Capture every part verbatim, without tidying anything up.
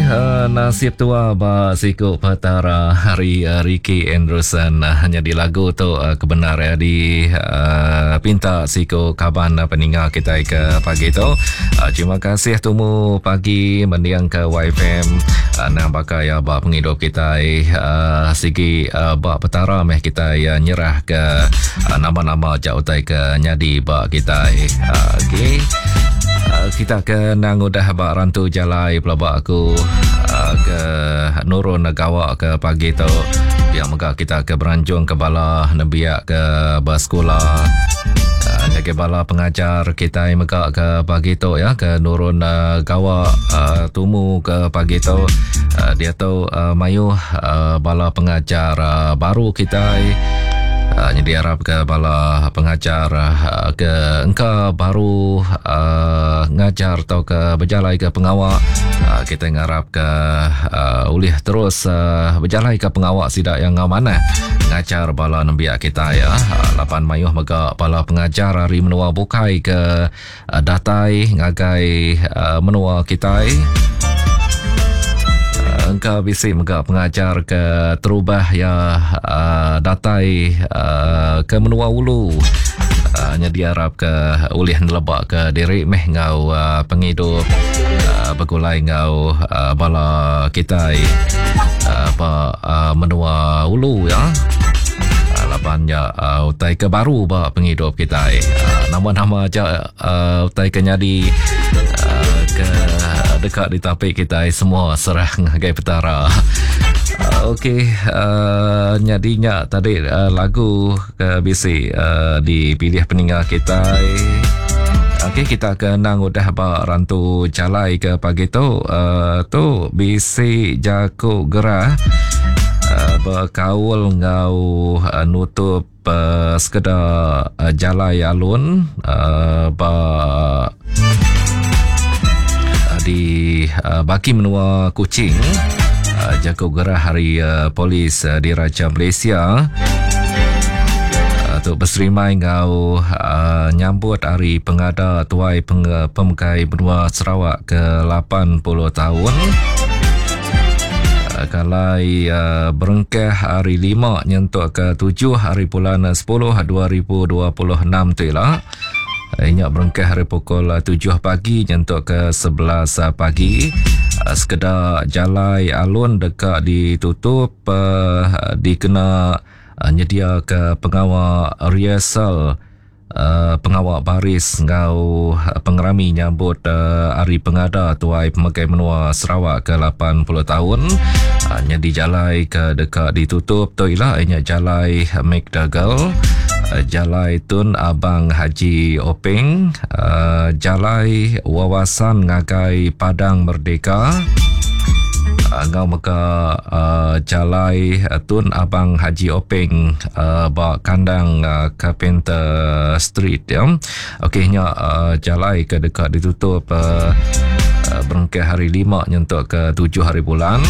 uh, nasib tua ba siku petara hari uh, Ricky Anderson uh, jadi lagu tu uh, kebenar ya di uh, pinta siku kaban uh, peninga kita ke pagi tu. Uh, terima kasih tumu pagi mendiang ke Y F M uh, nang bakal ya ba penghidup kita uh, sigi uh, ba petara meh kita uh, nyerah ke uh, nama-nama jak utai ke nyadi ba kita. Uh, okey. Uh, kita ke nang udah ba rantu jalai pelabak aku uh, ke nurun gawak ke pagi tu. Biar mega kita ke beranjung ke bala nembiak ke bersekolah. Uh, ke bala pengajar kita mega ke pagi tu ya ke nurun uh, gawak uh, tumu ke pagi tu. Uh, dia tu uh, mayuh uh, bala pengajar uh, baru kita. Uh, jadi harap ke bala pengajar uh, ke engka baru uh, ngajar atau ke berjalai ke pengawak uh, kita ngarap ke uh, ulih terus uh, berjalai ke pengawak sidak yang mana ngajar bala nembiak kita ya. Uh, lapan mayuh mega bala pengajar hari menua bukai ke uh, datai ngagai uh, menua kita. Engkau bisi mega pengajar ke terubah ya uh, datai uh, ke menua ulu. Uh, jadi harap ke ulih nelebak ke diri meh ngau uh, penghidup uh, bergulai ngau uh, bala kita uh, ba uh, menua ulu ya. Uh, labannya uh, utai ke baru ba penghidup kita. Uh, nama-nama aja uh, utai ke nyadi uh, ke dekat di tapik kita semua serah ngagai petara. Uh, Okey, uh, nyadinya tadi uh, lagu ke bisi uh, dipilih peninggal kita. Okey, kita ke nang udah ba rantu jalai ke pagi tu. Uh, tu bisi jaku gerah uh, berkaul ngau uh, nutup uh, sekedar uh, jalai alun uh, ba di uh, baki menua Kuching. Uh, jago gerah hari uh, polis uh, di Raja Malaysia uh, tu berserimai ngau uh, nyambut hari pengada tuai peng- pemegai benua Sarawak ke lapan puluh tahun. Uh, kalai uh, berengkah hari lima nyentuk ke tujuh hari bulan sepuluh dua ribu dua puluh enam tu lah. Ingat berengkah hari pukul tujuh pagi nyentuk ke sebelas pagi. Sekedar jalai alun dekat ditutup uh, dikena uh, nyedia ke pengawal rehearsal uh, pengawal baris ngau pengerami nyambut uh, hari pengada tuai pemegai menua Sarawak ke lapan puluh tahun. Uh, nyedi jalai ke dekat ditutup tu ialah ingat jalai McDougall, Jalai Tun Abang Haji Openg, uh, Jalai Wawasan ngagai Padang Merdeka, uh, ngau mega uh, Jalai Tun Abang Haji Openg uh, ba kandang uh, Carpenter Street ya. Okey nya uh, jalai ke dekat ditutup uh, uh, berengkah hari lima nyentuk ke tujuh hari bulan.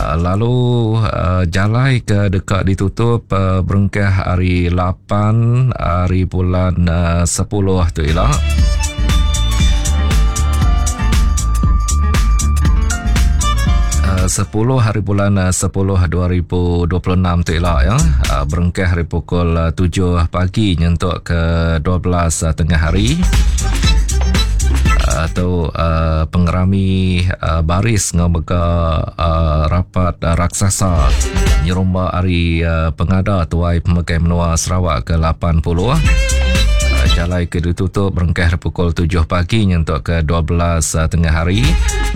Lalu uh, jalai ke dekat ditutup uh, berengkah hari lapan hari bulan uh, sepuluh tu ialah. Uh, sepuluh hari bulan uh, sepuluh dua ribu dua puluh enam tu ialah ya. Uh, berengkah hari pukul uh, tujuh pagi nyentuk ke dua belas uh, tengah hari. Atau uh, pengerami uh, baris ngau mega uh, rapat uh, raksasa nyerumba hari uh, pengada tuai pemegai menua Sarawak ke lapan puluh. Uh, jalai ke ditutup berengkah pukul tujuh pagi nyentuk ke dua belas uh, tengah hari.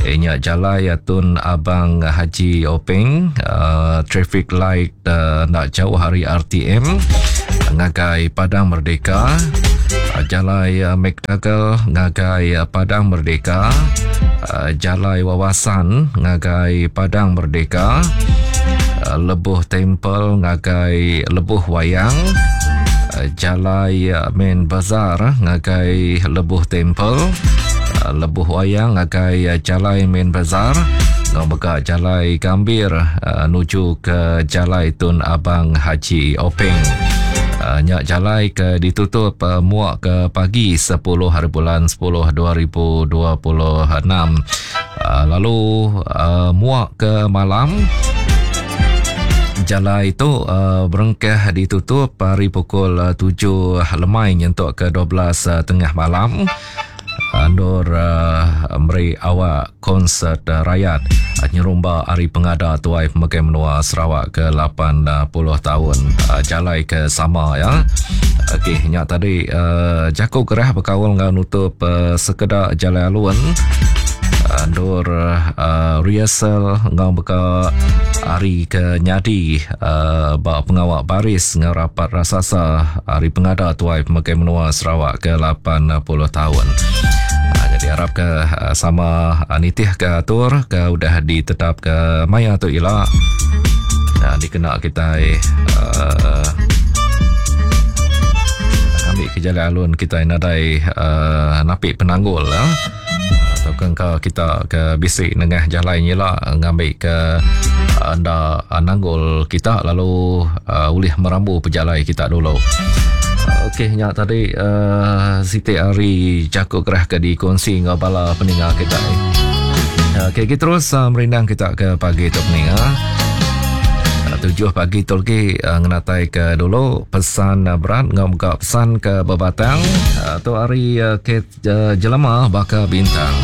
Inya jalai Tun Abang Haji Openg, uh, traffic light uh, nak jauh hari R T M ngagai Padang Merdeka. Jalai uh, McDougall ngagai uh, Padang Merdeka, uh, Jalai Wawasan ngagai Padang Merdeka, uh, Lebuh Temple ngagai Lebuh Wayang, uh, Jalai uh, Main Bazar ngagai Lebuh Temple, uh, Lebuh Wayang ngagai uh, Jalai Main Bazar, ngau mega Jalai Gambir uh, nuju ke Jalai Tun Abang Haji Openg. Uh, nyak jalai ke ditutup uh, muak ke pagi sepuluh hari bulan sepuluh dua ribu dua puluh enam. Uh, lalu uh, muak ke malam jalai itu uh, berengkah ditutup hari pukul uh, tujuh lemai nyentuk ke dua belas uh, tengah malam. Andur uh, meri awak konsert uh, rakyat uh, nyerumba hari pengada tuai pemegai menua Sarawak ke lapan puluh tahun. Uh, jalai ke sama ya. Okey, nyak tadi uh, jaku gerah berkaul dengan nutup uh, sekedak jalai alun. Andur uh, rehearsal ngau beka hari ke nyadi uh, ba pengawak baris ngau rapat rasasa hari pengada tuai pemegai menua Sarawak ke lapan puluh tahun. Uh, jadi harap ke uh, sama uh, nitih ke atur ke udah ditetap ke maya tu ila. Nah, dikena kita uh, ambil ke jalan alun kita nadai uh, napik penanggul lah. Atau ke kita ke bisik nengah jalan ni lah ngambil ke anda nanggul kita lalu uh, ulih merambu pejalai kita dulu. Okey, nyak tadi uh, Siti Ari jaku gerah ke dikongsi ngau bala pendengar kita. Okey, kita terus uh, merindang kita ke pagi tu pendengar. Tujuh pagi tu lagi uh, ngenatai ke dulu pesan uh, berat ngau buka pesan ke bebatang uh, tu hari uh, ke uh, jelema baka bintang.